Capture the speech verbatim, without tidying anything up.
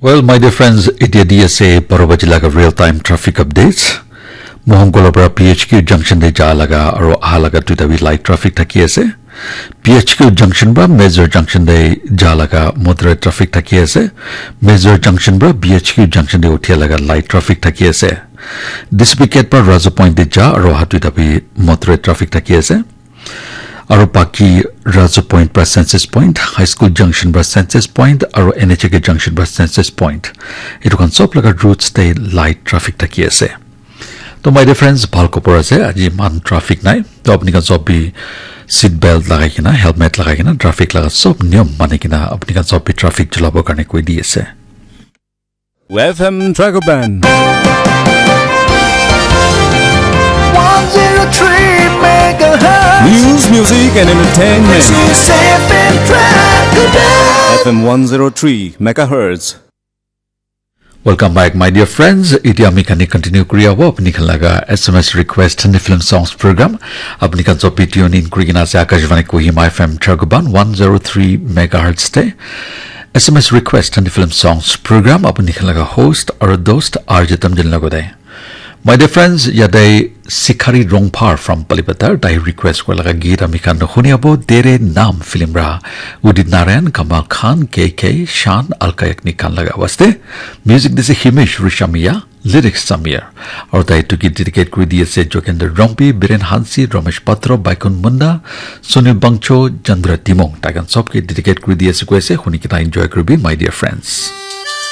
Well, my dear friends, itia di ase baro baji laga real time traffic updates. Mohongkolo para P H Q junction de ja laga aro aha laga duita bi light traffic thaki ase. P H Q junction para Major junction de ja laga moderate traffic thaki ase. Major junction para P H Q junction de uthia laga light traffic thaki ase. Dispicate para Razu Point de ja aro aha duita bi moderate traffic thaki ase. Aro baki Razu Point pra Census Point, High School Junction pra Census Point, aro N H A K Junction pra Census Point. Etu khan sob laga routes te light traffic thaki ase. To my dear friends, bhal khobor ase, aji iman traffic nai. To apni khan sob bi seat belt lagai kena, helmet lagai kena, traffic laga sob niyom mani kena apni khan sob bi traffic chulabo karne koi di ase. F M Dragoban. One zero three megahertz. News, music, and entertainment. This is F M Dragoban. F M one zero three megahertz. Welcome back, my dear friends. Itia ami khan continue kuri abo apni khan laga S M S request and film songs program. Apni khan sob bi tune in kuri kena ase Akashvani Kohima F M Dragoban one zero three megahertz te. S M S request and film songs program apni khan laga host aro dost R J Tamjin lagode. My dear friends, yate Sikhari Rongphar from Palipatar, tai request kora laga geet ami khan huni abo Tere Naam film ra Udit Narayan, Kamal Khan, K K, Shan, Alka Yagnik khan laga waste. Music dise Himesh Rishamia, lyrics Samir. Aru tai etu ke dedicate kuri di ase Jokender Rongpi, Biren Hansi, Ramesh Patro, Baikun Munda, Sunil Bangcho, Chandra Timung. Tai khan sob ke dedicate kuri di ase koi ase, huni kena enjoy kuribi, my dear friends.